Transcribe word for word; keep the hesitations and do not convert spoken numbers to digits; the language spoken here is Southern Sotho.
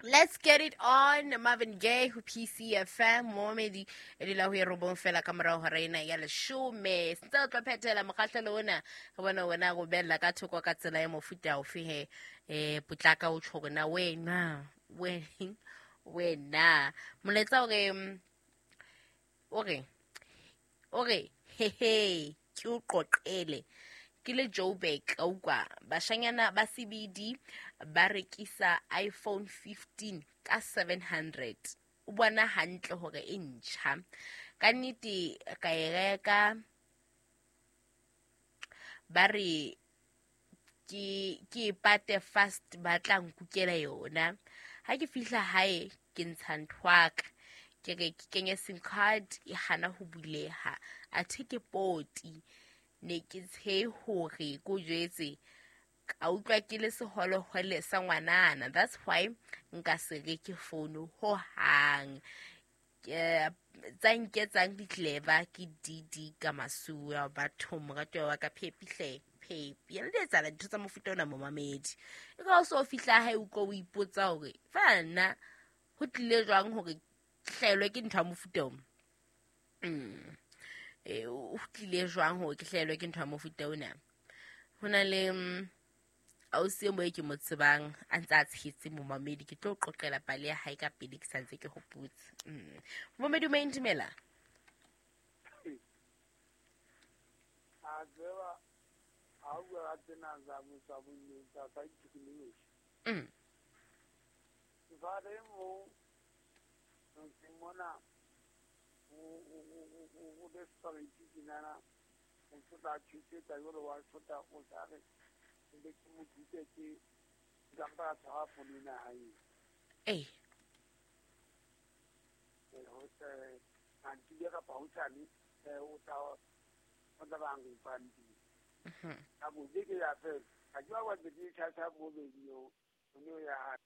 Let's get it on, Marvin Gaye ho P C F M, momedi e dula ho e robong fela ka morao hora ena ya leshome. Sentse re tlo phethela mokgahlelo ona, re bone wena go bella ka thoko ka tsela ya mofuta ofe he. Eh, potlaka o tjho hore na wena, wena, wena. Molaetsa o re, o re, o re, he he, ke o qoqele. Ke le Joburg, ka utlwa, bashanyana ba C B D ba rekisa iPhone fifteen ka seven hundred. O bona hantle hore e ntjha. Ka nnete ka e reka, ba re ke, ke e pate fast, ba tla nkukela yona. Ha ke fihla hae, ke ntsha nthwaka. Ke re ke kenye SIM card, e hana ho buleha. Athe ke poti. Ne ke tshehe hore ko jwetse, ka utlwa ke le seholohole sa ngwanana. That's why nka se reke founu ho hang. Ke, tsa nketsang di-clever ke D D ka masuwa batho moratuwa wa ka Phepi hle, Phepi. Ene di etsahala dintho tsa mofuta ona momamedi. E ka o so fihla hae o utlwa o ipotsa hore fela nna ho tlile jwang hore ke hlahelwe ke ntho ya mofuta ona? Mm. Eh, o tlile jwang hore ke hlahelwe ke ntho ya mofuta ona? Ho na le, mm, ausi e mo e ke mo tsebang a ntse a tshetse momamedi, ke tlo qoqela pale ya hae ka pele ke sa ntse ke hopotse. Mm. Momamedi o maindumela? A tseba, ha o bua ka tsena tsa bo-, tsa bo-, tsa scientific. Mm. Jwale mo, motseng mona, o, o, o, o, o, o desperate tjenana, o tla tjhetsa jwalo wa shota, o tla re, ke ke mo thute ke, ke mpa tshwara founu ena ya hae. Ee. Eh, ho, eh, mantsibuya kapa hosane, eh, o tla, o tla ba nfang teng. Mhm. Ka bo beke ya fela. Ha ke ba wa ntse ke tjhatjha bo bedi eo, o ne o ya hae.